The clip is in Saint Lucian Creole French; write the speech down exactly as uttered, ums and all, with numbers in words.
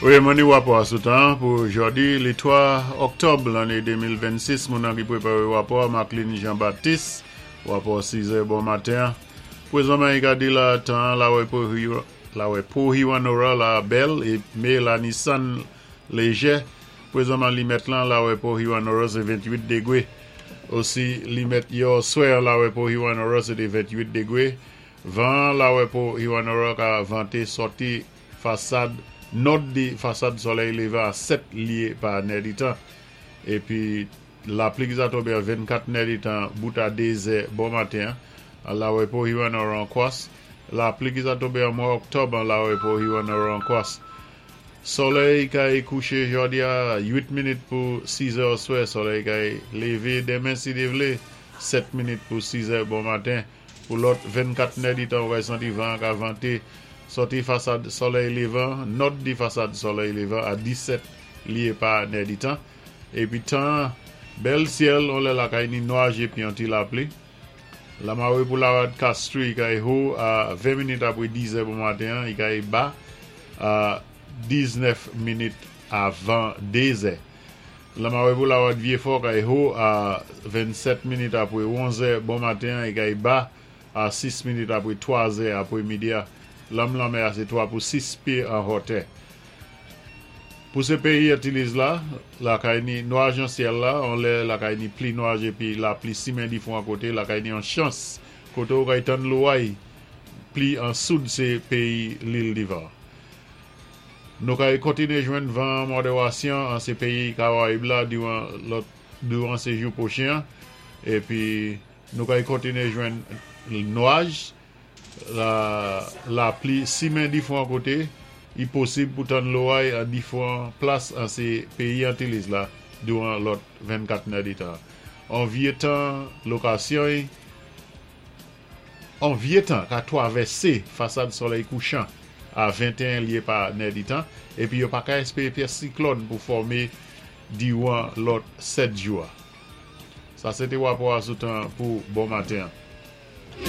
Wi, men ni wapò sou tan pou jòdi, lé twa òktòb lanné de mil vennsis. Moun ki pwépawé wapò, Marceline Jean-Baptiste, wapò sis è bon maten. Pwézanman, i ka di la tan lawè pou lawè pou Hewanorra la bèl é mé la ni sann léjè. Pwézanman limèt lan lawè pou Hewanorra sé venntwit dégwé. Osi limèt yè swè lawè pou Hewanorra sé té venntwit dégwé. Van lawè pou Hewanorra ka vanté sòti fasad nò di fasad solèy lévan a sèt lyé pa nèditan. Épi lapli ki sa tonbé a vennkat nèditan bout a dé zè bon maten lawè pou Hewanorra an kwas. Lapli ki sa tonbé an mwa òktòb an lawè pou Hewanorra an kwas. Solèy kay kouché jòdi a wit minit pou sis è oswè. Solèy kay lévé denmen si Dye vlé sèt minit pou sis è bon maten. Pou lòt vennkat nèditan, ou santi van ka vanté sòti fasad solèy lévan, nò di fasad solèy lévan a disèt lyé pa nèditan. Épi tan bèl syèl, on lè lakay ni nwaj épi yon ti lapli. Lamawé pou lawad Castries kay wo a ven minit apwé diz è bon maten, i kay ba a diznèf minit avan dé zè. Lamawé pou lawad Vieux-Fort kay wo a vennsèt minit apwé onz è bon maten, i kay ba a sis minit apwé twa zè apwé midi. Lanm lanmè a sé twa pou sis pyé an wotè. Pou sé péyi Antiliz la, lakay ni nwaj an syèl la, on lè lakay ni pli nwaj épi lapli simen difwan koté, lakay ni an chans koté ou kay tann loway pli an soud sé péyi Lil Divan. Nou kay kontiné jwenn van modérasyon an sé péyi Karayib la diwan lòt diwan sé jou pwochen épi nou kay kontiné jwenn nwaj la lapli simen difwan koté, i posib pou tann loway an difwan plas an sé péyi Antiliz la diwan lòt vennkat nèditan. An vyé tan lokasyon an vyé tan ka twavèsé fasad solèy kouchan a venteyen lyé pa nèditan épi yo pa ka èspéré pyès siklòn pou fòmé diwan lòt sèt jou. Sa sé té wapò sou tan pou bon maten.